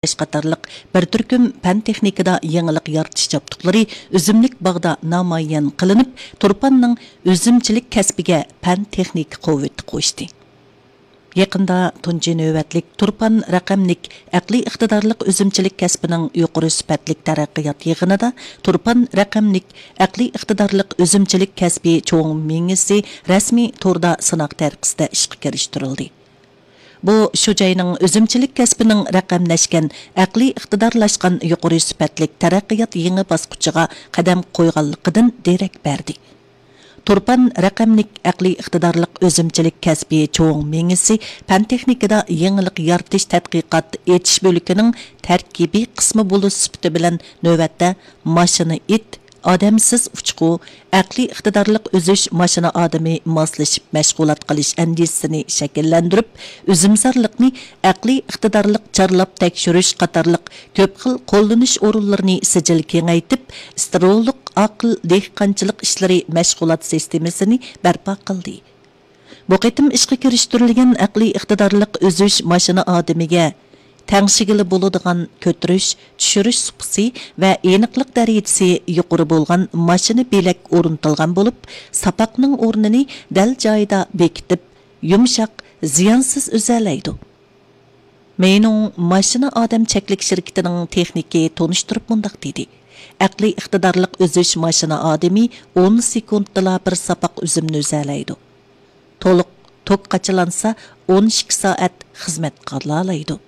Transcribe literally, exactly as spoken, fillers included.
قاتارلىق بىر تۈركۈم پەن تېخنىكىدا يېڭىلىق يارىتىش جابدۇقلىرى ئۈزۈملۈك باغدا نامايان قىلىنىپ، تۇرپاننىڭ ئۈزۈمچىلىك كەسپىگە پەن تېخنىكا قۇۋۋىتى قوشتى. يېقىندا تۇنجى نۆۋەتلىك تۇرپان رەقەملىك ئەقلىي ئىقتىدارلىق ئۈزۈمچىلىك كەسپىنىڭ يۇقىرى سۈپەتلىك تەرەققىيات يىغىنىدا تۇرپان رەقەملىك ئەقلىي ئىقتىدارلىق ئۈزۈمچىلىك كەسپى چوڭ مېڭىسى رەسمىي توردا سىناق تەرىقىسىدە ئىشقا كىرىشتۈرۈلدى. بۇ شۇ جاينىڭ ئۈزۈمچىلىك كەسپىنىڭ رەقەملەشكەن، ئەقلىي ئىقتىدارلاشقان يۇقىرى سۈپەتلىك تەرەققىيات يېڭى باسقۇچىغا قەدەم قويغانلىقىدىن دېرەك بەردى. تۇرپان رەقەملىك ئەقلىي ئىقتىدارلىق ئۈزۈمچىلىك كەسپى چوڭ مېڭىسى پەن تېخنىكىدا يېڭىلىق يارىتىش تەتقىقات ئېچىش بۆلىكىنىڭ تەركىبىي قىسمى بولۇش سۈپىتى بىلەن نۆۋەتتە ماشىنا ئىت، ئادەمسىز ئۇچقۇ، ئەقلىي ئىقتىدارلىق ئۈزۈش ماشىنا ئادىمى ماسلىشىپ مەشغۇلات قىلىش ئەندىزىسىنى شەكىللەندۈرۈپ، ئۈزۈمزارلىقنى ئەقلىي ئىقتىدارلىق چارلاپ تەكشۈرۈش قاتارلىق كۆپ خىل قوللىنىش ئورۇنلىرىنى سىجىل كېڭەيتىپ، ئىستېرېئولۇق ئاقىل دېھقانچىلىق ئىشلىرى مەشغۇلات سىستېمىسىنى بەرپا قىلدى. بۇ قېتىم ئىشقا كىرىشتۈرۈلگەن ئەقلىي ئىقتىدارلىق ئۈزۈش ماشىنا ئادىمىگە تەڭشىگىلى بولىدىغان كۆتۈرۈش، چۈشۈرۈش سۇپىسى ۋە ئېنىقلىق دەرىجىسى يۇقىرى بولغان ماشىنا بېلەك ئورنىتىلغان بولۇپ، ساپاقنىڭ ئورنىنى دەل جايىدا بېكىتىپ، يۇمشاق، زىيانسىز ئۈزەلەيدۇ. مېينىڭ ماشىنا ئادەم چەكلىك شىركىتىنىڭ تېخنىكى تونۇشتۇرۇپ مۇنداق دېدى: ئەقلىي ئىقتىدارلىق ئۈزۈش ماشىنا ئادىمى ئون سېكۇنتتىلا بىر ساپاق ئۈزۈمنى ئۈزەلەيدۇ. تولۇق توك قاچىلانسا، ئون ئىككى سائەت خىزمەت قىلالايدۇ.